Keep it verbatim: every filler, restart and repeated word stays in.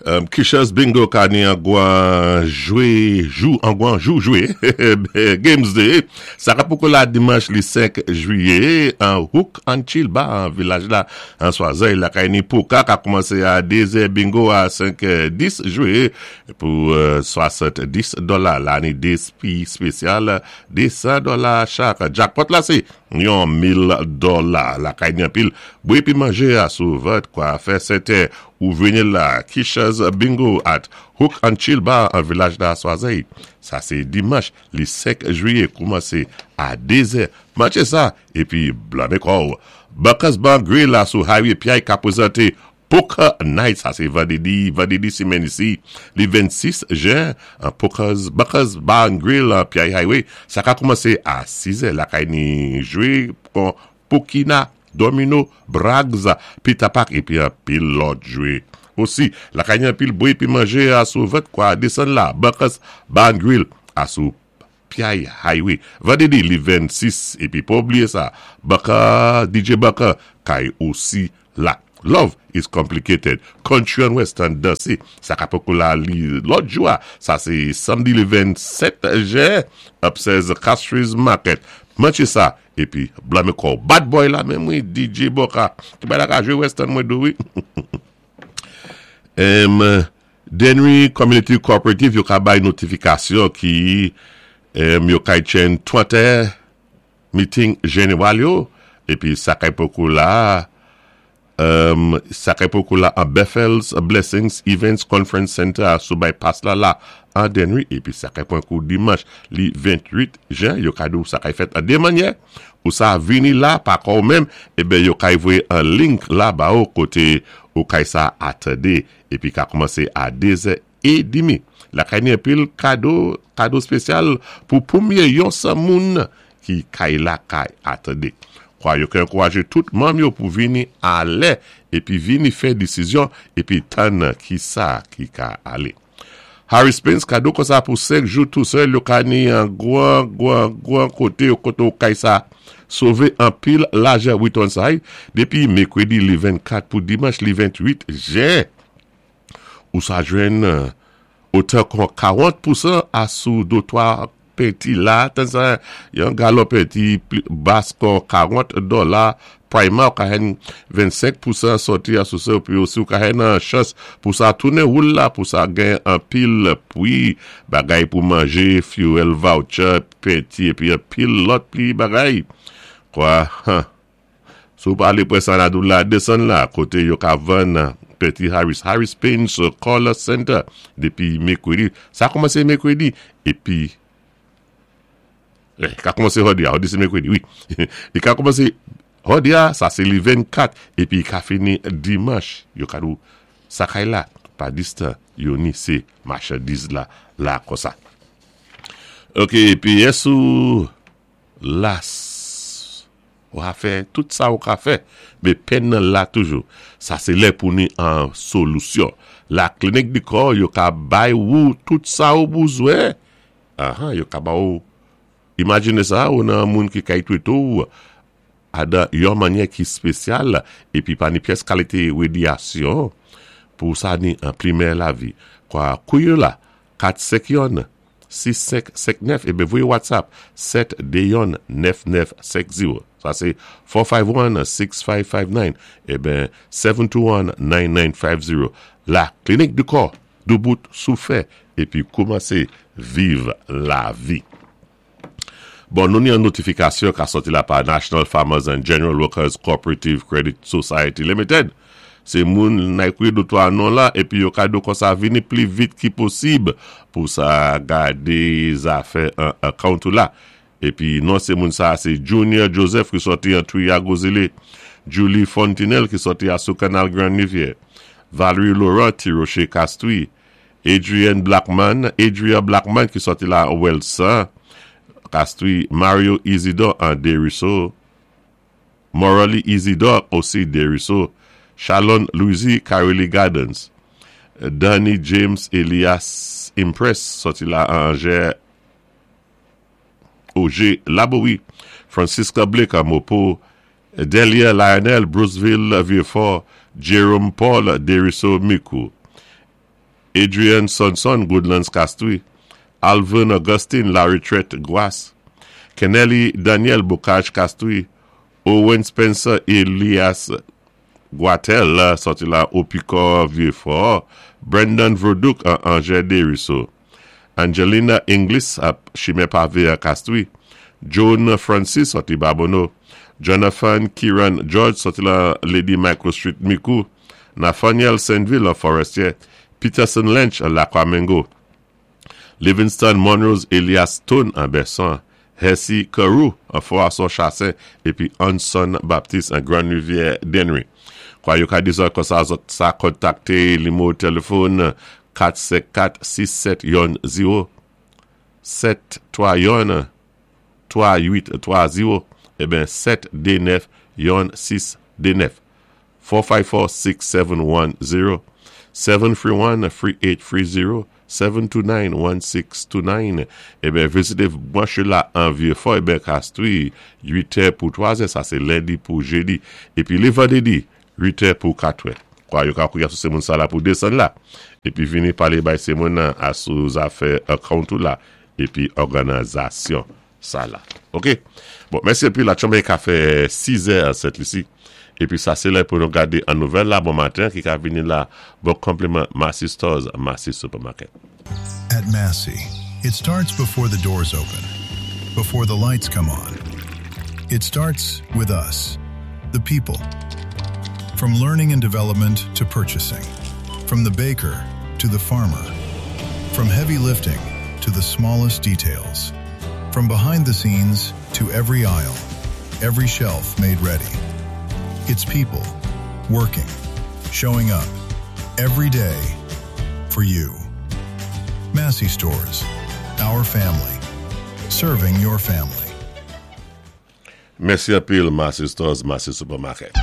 Um, Kisha's Bingo ka ni an gwan jwé jou, an gwan jou jwé, Games Day. Sa ka poko la dimanch li senk jwiyé, an Hook and Chill Bar an vilaj la, an Swazey la kay ni poka ka koumansé a dé zè, bingo a senk dis, jwé pou euh, swasanndis dola. La ni dé pi spésyal, désan dola chak. Jackpot la sé yon mil dola. La kay ni anpil bwé pi manjé a sou vant kwa fè sèten ou vini la Kisha's Bingo at Hook and Chill Bar an vilaj la Swazey. Sa sé dimanch li senk jwiyé koumansé a dé zè. Manché sa épi blanmé kò. Buckers Bar Grill la sou Highway Piaye ka pwézanté Poker Night, sa sé vandédi, vandédi simenn isi, li vennsis jen, an Poker's, Buckers Bar and Grill an Piaye Highway, sa ka koumansé a siz è, la kay ni jwé kon Pokina, Domino, Brags, Peter Pack, épi anpil lòt jwé. Osi, la kay ni anpil bwé pi manjé a sou vant kwa désann la, Buckers Bar and Grill, a sou Piaye Highway. Vandédi li vennsis, épi pa oubliyé sa, Bucker, D J Bucker, kay osi la. Love Is Complicated. Country and Western dansé. Sa ka poko la li lòt jou a. Sa sé samdi li vennsèt jen. Upstairs Castries Market. Manché sa. Épi blanmé kò. Bad boy la menm wi. D J Boka. Ki bay la ka jwé Western mwen dou wi. Em, Dennery Community Cooperative yo ka bay notifikasyon ki em, yo kay tchen twantè meeting jeneral yo. Épi sa kay poko la um, sa kay poko la an Bethel's Blessings Events Conference Center a sou bypass la la an Dennery. Épi sa kay pwan kou dimanch li ventwit jen, yo ka dou sa kay fèt an dé mannyè. Ou sa vini la pa kò menm, eben yo kay voyé an link la ba ou koté ou kay sa atandé. Épi ka koumansé a dé zè é demi. La kay ni anpil kado, kado spésyal pou pwémyé yon san moun ki kay la kay atandé. Kwa yo kay ankourajé tout manm yo pou vini a lè, épi vini fè désizyon, épi tann ki sa ki ka alé. Harris Spence kado kon sa pou senk jou tou sèl, yo ka ni an gwan, gwan, gwan koté yo koté ou kay sa sové anpil lajan Wheaton Side, dépi mèkwédi li vennkat pou dimanch li ventwit jen. Ou sa jwenn otan kon karant pousan a sou dotwa penti la, tan sa, yon galon penti bas kon karant dola, primer ou ka hen vennsenk pousan soti a sou se, ou pi osi ou ka hen an chans pou sa tounen woul la, pou sa gen anpil pwi, bagay pou manjé, fuel voucher, penti, épi anpil lòt pli bagay. Kwa, han, sou pa ale pre sa la dou la, desann la, koté yo ka vann penti Harris, Harris Paints Color Center, dépi mèkwédi, sa koumansé mèkwédi, épi, eh, ka koumansé jòdi a, jòdi sé mèkwédi, wi. Li ka koumansé jòdi a, sa sé li vennkat, épi ka fini dimanch, yo ka dou sa kay la, pa distan, yo ni sé machandiz la, la kon sa. Ok, épi esou las, ou a fè tout sa ou ka fè, mé pèn nan la toujou. Sa sé lè pou ni an solusyon. La Clinique du Corps, yo ka bay ou tout sa ou bouzwen. Aha, yo ka ba ou. Imajine sa, ou nan moun ki kay twété ou, adan yon mannyè ki spésyal, épi pa ni pyès kalité radyasyon, pou sa ni an pli mèyè lavi. Kwa kouye la, kat senk yon, sis senk senk nèf, ébé voyé WhatsApp, sèt dé yon, nèf nèf senk zewo. Sa sé four five one, six five five nine, ébé seven two one, nine nine five zero. La Clinique du Corps, doubout sou fè, épi koumansé viv lavi. Bon, nou ni an notifikasyon ka soti la pa National Farmers and General Workers Cooperative Credit Society Limited. Sé moun nay kouye dotwa non la, épi yo ka do kon sa vini pli vit ki posib pou sa gadé zafè an account ou la. Épi non sé moun sa, sé Junior Joseph ki soti an Triago Zile, Julie Fontenelle ki soti a sou Kanal Grand Rivière, Valerie Laurent Tiroche Castui, Adrian Blackman, Adria Blackman ki soti la Welsa, Castui, Mario Isidore an Desruisseaux, Morali Isidore osi Desruisseaux, Shalon Louisi Caroli Gardens, Danny James Elias Impress soti la Angers Oger Laboui, Francisca Blake a Mopo, Delia Lionel Bruceville Vieux-Fort, Jerome Paul Deriso Micoud, Adrian Sonson Goodlands Castries, Alvin Augustine La Retraite Gwas, Kennelly Daniel Bocage Castries, Owen Spencer Elias Guatel, sòti la Opicor Vieux-Fort, Brendan Verduc Angers Deriso, Angelina Inglis Chimè Pavé Castries, Joan Francis sòti Babonneau, Jonathan Kiran George sòti la Lady Micro Street Micoud, Nathaniel Saint-Ville Forestier, Peterson Lynch Laquamengo, Livingston Monrose Elias Stone an Besson, Hesse Carew an Forason Chassin, épi Anson Baptiste an Grande Rivière Dennery. Kwa yo ka di zòt kon sa zòt sa kontakté nimewo téléfòn kat senk kat sis sèt youn zewo sèt twa youn twa uit twa zewo eben sèt de nèf youn sis de nèf four five four six seven one zero seven three one three eight three zero seven two nine one six two nine. Eben vizité branch la an Vieux-Fort eben Castries uit è pou twa è, sa sé lendi pou jédi, épi lé vandrédi uit è pou kat è. Kwa yo ka kouya sou sé moun sa la pou désann la épi vini palé bay sé moun nan asou zafè account ou la épi òganizasyon sa la. OK? Bon, mèsi épi la chanbé ka fè sis è a Sent Lisi. Épi sa sé lè pou nou gadé an nouvèl la bon maten ki ka vini la bon konpliman Massy Stores, Massy Supermarket. At Massy, it starts before the doors open, before the lights come on. It starts with us, the people. From learning and development to purchasing, from the baker to the farmer, from heavy lifting to the smallest details, from behind the scenes to every aisle, every shelf made ready. It's people working, showing up every day for you. Massy Stores, our family, serving your family. Mèsi anpil Massy Stores, Massy Supermarket.